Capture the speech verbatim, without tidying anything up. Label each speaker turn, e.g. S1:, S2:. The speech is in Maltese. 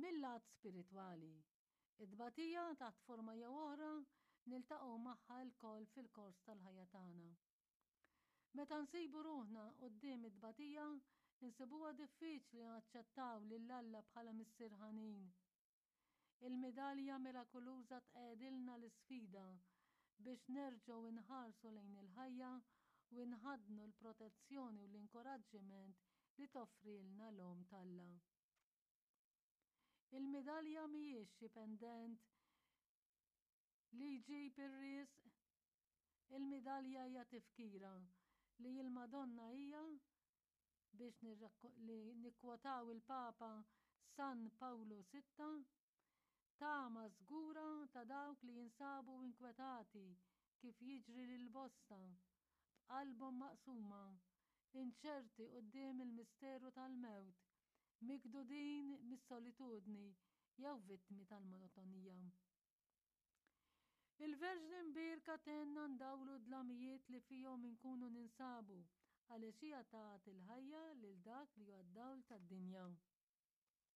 S1: Mil-lat spiritwali, it-tbatija taħt forma jew oħra niltaqgħu magħha lkoll fil-kors tal-ħajja tagħna. Meta nsibu ruħna quddiem it-tbatija, insibuha diffiċli naċċettaw lil Alla bħala Missier ħanin. Il-midalja mirakuluża tqegħdilna l-isfida biex nerġgħu nħarsu lejn il-ħajja u nħaddnu l-protezzjoni u l-inkoraġġiment li toffrilna l-Omm t'Alla. Il-midalja mhijiex xi pendent li jġib ir-risq. Il-midalja hija tifkira li l-Madonna hija, biex li nikkwotaw il-Papa San Pawlu Sitta, tama żgura ta' dawk li jinsabu inkwetati kif jiġri lil bosta, b'qalbhom maqsuma, inċerti quddiem il-misteru tal-mewt, mikdudin mis-solitudni jew vittmi tal-monotonija. Il-Verġni Mbierka tgħinna ndawlu d-dlamijiet li fihom inkunu ninsabu għaliex hija tat il-ħajja lil dak li huwa d-dawl tad-dinja.